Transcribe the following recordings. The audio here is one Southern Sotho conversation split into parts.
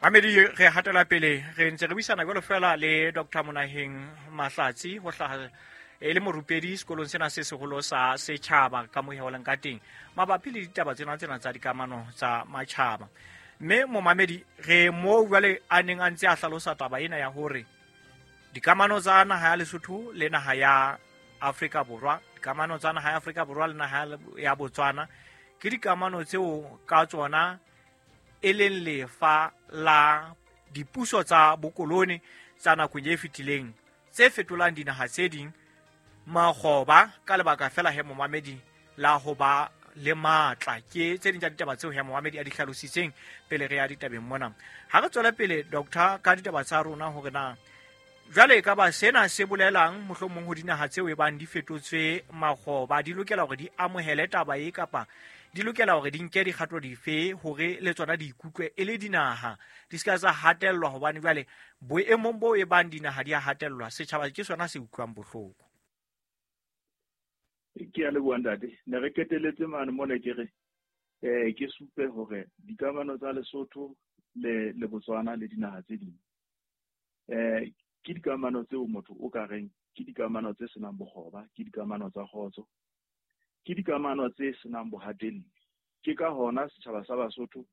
Mamedi, re hatela pele, re ntse re buisana jwalo fela le Dr Monaheng Mahlatsi, ho hlaha e le morupedi sekolong sena se seholo sa setjhaba ka moheoleng ka teng mabapi le ditaba tsena tsena tsa dikamano tsa matjhaba. Mme momamedi, re moo jwale a neng a ntse a hlalosa taba ena ya hore dikamano tsa naha ya Lesotho le naha ya Afrika Borwa, dikamano tsa naha ya Afrika Borwa le naha ya Botswana ke dikamano tseo ka tsona e leng lefa la dipuso tsa bokolone tsa nakong e fetileng tse fetolang dinaha tse ding makgoba ka lebaka fela he momamedi la ho ba le matla. Ke tse ding tsa ditaba tseo he momamedi a di hlalositseng pele re ya ditabeng mona. Ha re tswele pele, doctor, ka ditaba tsa rona hore na jwale e ka ba sena se bolelang mohlomong ho dinaha tseo e bang di fetotswe makgoba, di lokela hore di amohele taba e kapa di lokela hore di nke dikgato dife hore le tsona di ikutlwe e le dinaha, di se ka tsa hatellwa, hobane jwale boemong bo e bang dinaha di a hatellwa, setjhaba ke sona se utlwang bohloko. Ke a leboha, ntate. Ne re keteletse mane mona ke re ke supe hore dikamano tsa Lesotho le Botswana le dinaha tse ding ke dikamano tseo motho o ka reng ke dikamano tse senang bokgoba, ke dikamano tsa kgotso, ke dikamano tse senang bohatelli. Ke ka hona setjhaba sa Basotho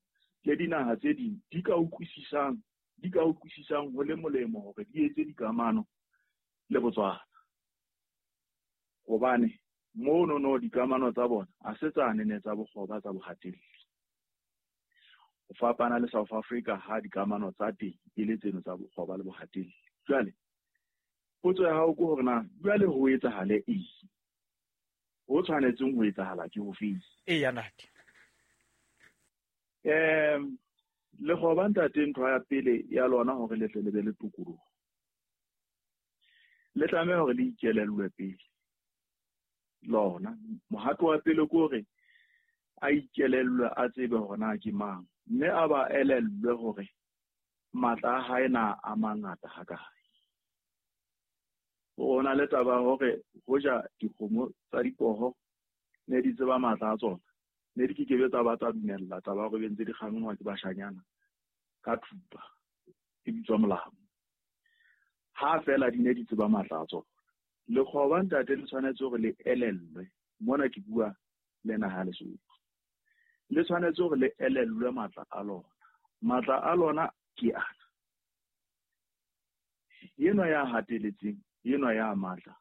le dinaha tse ding di ka utlwisisang ho le molemo hore di etse dikamano le Botswana, hobane mono no dikamano tsa bona a se tsane ne tsa bokgoba tsa bohatelli. Ho fapana le South Africa ha dikamano tsa teng e le tseno tsa bokgoba le bohatelli. Jwale potso ya hao ke hore na jwale ho etsahale eng, ho tshwanetseng ho etsahala ke ho feng? Eya, ntate. Lekgoba, ntate, ntho ya pele ya lona hore le tle le be le tokoloho, le tlameha hore le ikelellwe pele. Lona mohato wa pele ke hore a ikelellwe, a tsebe hore na ke mang, mme a ba elellwe hore matla a hae na a mangata hakae. Ho na le taba hore hoja dikgomo tsa dipoho ne di tseba matla a tsona, ne di kekebe tsa ba tsa dumella taba hore be ntse di kgangwa ke bashanyana ka thupa e bitswa molamo. Ha fela di ne di tseba matla a tsona. Lekgoba, ntate, le tshwanetse hore le elellwe, mona ke bua le naha ya Lesotho, le tshwanetse hore le elellwe matla a lona. Matla a lona ke ana, enwa ya hateletseng, enwa ya matla.